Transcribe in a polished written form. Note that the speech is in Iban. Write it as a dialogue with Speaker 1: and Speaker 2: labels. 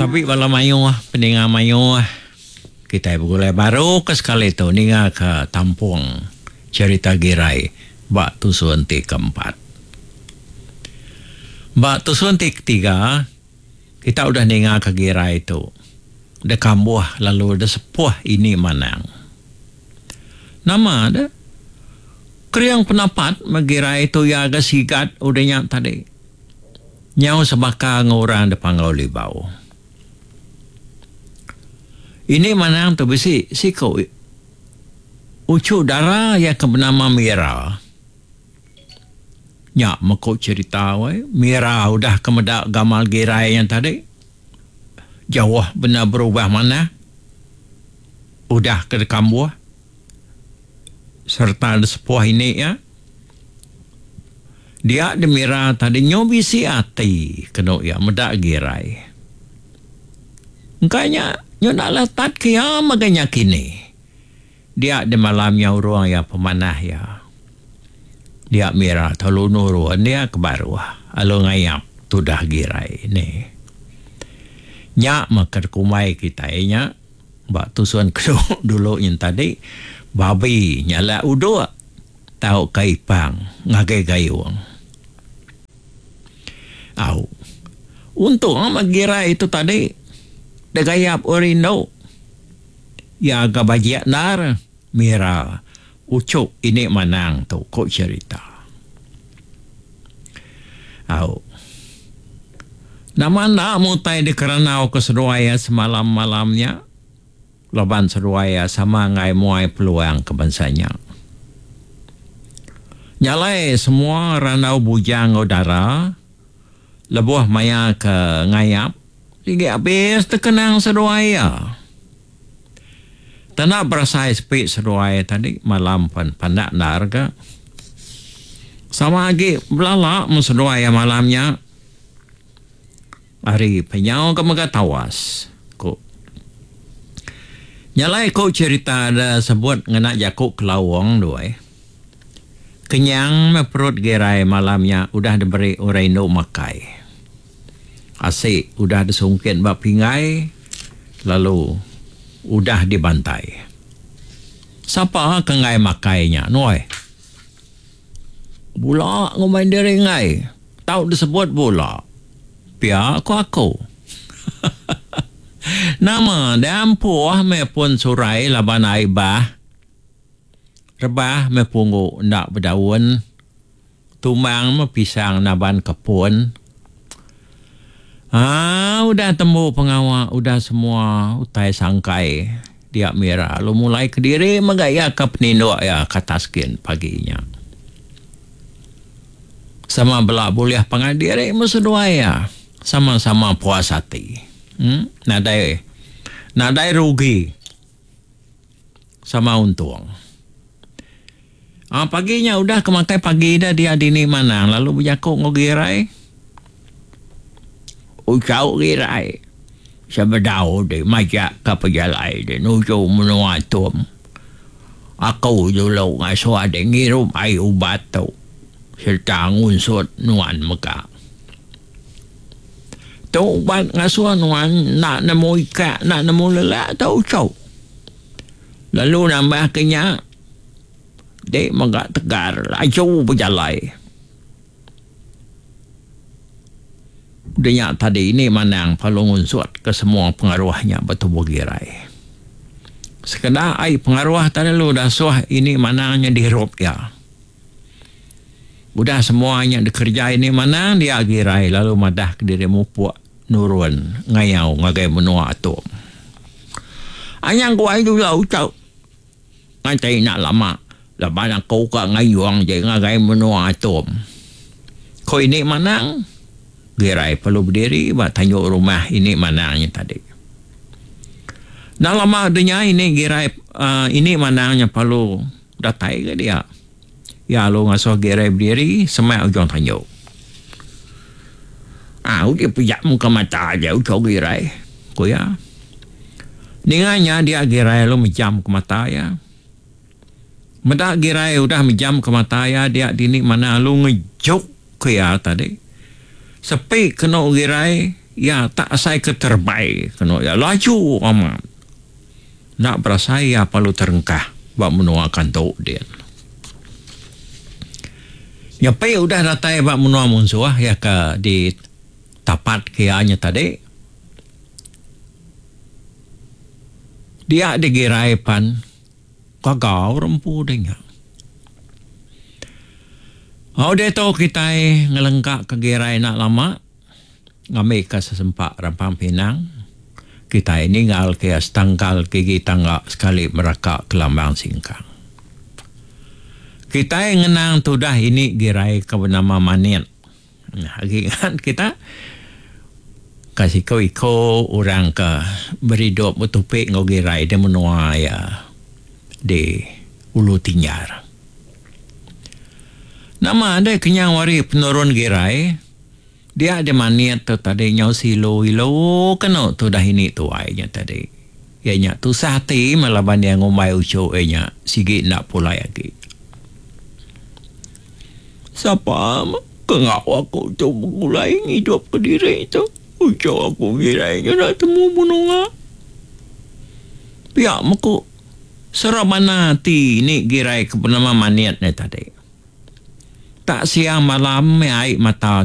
Speaker 1: Tabi bala mayuh peninga mayuh kitai begulai baru ke sekali tu ninga ke tampung cherita Girai ba tusun ti keempat. Ba tusun ti ketiga kita udah ninga ke Girai tu dekambuh lalu desepuh ini manang. Nama deh kering penapat meh Girai tu iya ga sigat udah nya tadi. Nyau sebaka enggau orang da Panggau Libau. Ini manang tu bisi siku uchu dara iya ke benama Mira. Nya meh ku cherita weh, Mira udah ke meda gamal girai nya tadi jauh bendar berubah manah udah ke dikambuh sereta disepuh ini iya. Dia Demira tadi nyu bisi ati kenu iya meda Girai. Engka nya nyu enda letat ke iya mega nya kini. Dia demalam nya urung iya pemanah iya. Dia Mira telu nurun iya ke baruh lalu ngayap tudah Girai ni. Nya meh ke dikumbai kitai nya ba tusun kenu dulu nyin tadi babi nyalak uduk. Tauka ipang ngagai gayung. Au. Untung meh girai tu tadi degayap orang indu. Iya ga bajik endar mira uchu ini manang tu ku cherita. Au. Nama enda mutai dikerandau ke seduai iya semalam-malam nya. Laban seduai iya sama enggai muai peluang ke bansa nya. Nya alai semua randau bujang enggau dara lebuh maya ke ngayap sigi abis tekenang seduai iya. Tanda berasai sepi seduai tadi malam pen pandak endar ga. Sama agi belala meh seduai iya malam nya. Ari penyau ke mega tawas, ku. Nya alai ku cherita da sebut ngena jaku kelaung tu ai. Kenyang meh perut Girai malam nya udah diberi orang indu makai. Asi udah disungkit ba pinggai lalu udah dibantai. Sapa ke enggai makai nya nuai. Bula ngumbai diri enggai. Tau disebut bula. Pia ku aku. Nama deh ampuh meh pun surai laban ai bah. Rebah meh punggu enda bedaun. Tumbang meh pisang naban ke pun. Haa udah tembu pengawa udah semua utai sangkai dia mira lalu mulai kediri mega iya ke peninduk iya ke atas kin pagi nya. Sama bela bulih pangan diri meh seduai iya. Sama-sama puas ati. Em nadai nadai rugi. Sama untung. Aa pagi nya udah ke makai pagi ida dia dini manang lalu bejaku enggau Girai. Ucau Girai sebedau di majak ka pejalai di nuju menua Tum. Aku dulu ngasuh adi ngirup ai ubat tu sereta ngunsut nuan mega. Tu ubat ngasuh nuan enda nemu ikak enda nemu lelak tu uchu. Lalu nambah ke nya dek mega tegar laju bejalai. Udah nya tadi ini manang perlu ngunsut ke semua pengaruh nya ba tubuh Girai. Sekeda ai pengaruh tadi lalu dasuh ini manang nya dirup iya. Udah semua nya dikereja ini manang dia Girai lalu madah kediri mupuk nurun ngayau ngagai menua Atum. Anyang guai dulu uchu. Nganti enda lama laban aku ka ngayung je ngagai menua Atum. Ko ini manang, Girai perlu bediri ba tanju rumah ini manang nya tadi. Enda lama udah nya ini Girai uhh ini manang nya perlu datai ga dia. Iya lalu ngasuh Girai bediri semak ujung tanju. Aa uji pejam ka mata aja uchu Girai, ku iya. Ninga nya dia Girai lalu mejam ka mata iya. Meda Girai udah mejam ka mata iya dia dini manah lalu ngejuk ka iya tadi. Sepi kenu Girai. Iya tak asai ke terebai kenu iya laju amat. Enda berasai iya perlu terengkah ba menua Kantu din. Nyepi udah datai ba menua munsuh iya ke di tapat ke iya nya tadi. Dia digirai pan gaga orang empu deh nya. Au diatu kitai ngelengka ke girai enda lama ngambi ka sesempa rampang pinang kitai ninggal ke iya setangkal gigi tangga sekali meraka kelambang singkang. Kitai ngenang tudah ini girai ke benama Manit. Agi ngan kita ka siku iku orang ke beridup betupi enggau girai di menua iya di Ulu Tinjar. Nama deh kenyau ari penurun girai dia deh manit tu tadi nyau silu ilu kenu tudah ini tuai nya tadi. Iya nya tusah ati meh laban iya ngumbai uchu iya nya sigi enda pulai agi. Sapa ke enggau aku tu begulai ngidup kediri tu. Uchu aku ngirai nya enda temu menua. Pia meku serabana ati ni girai ke benama Manit nya tadi. Tak siang malam meh ai mata.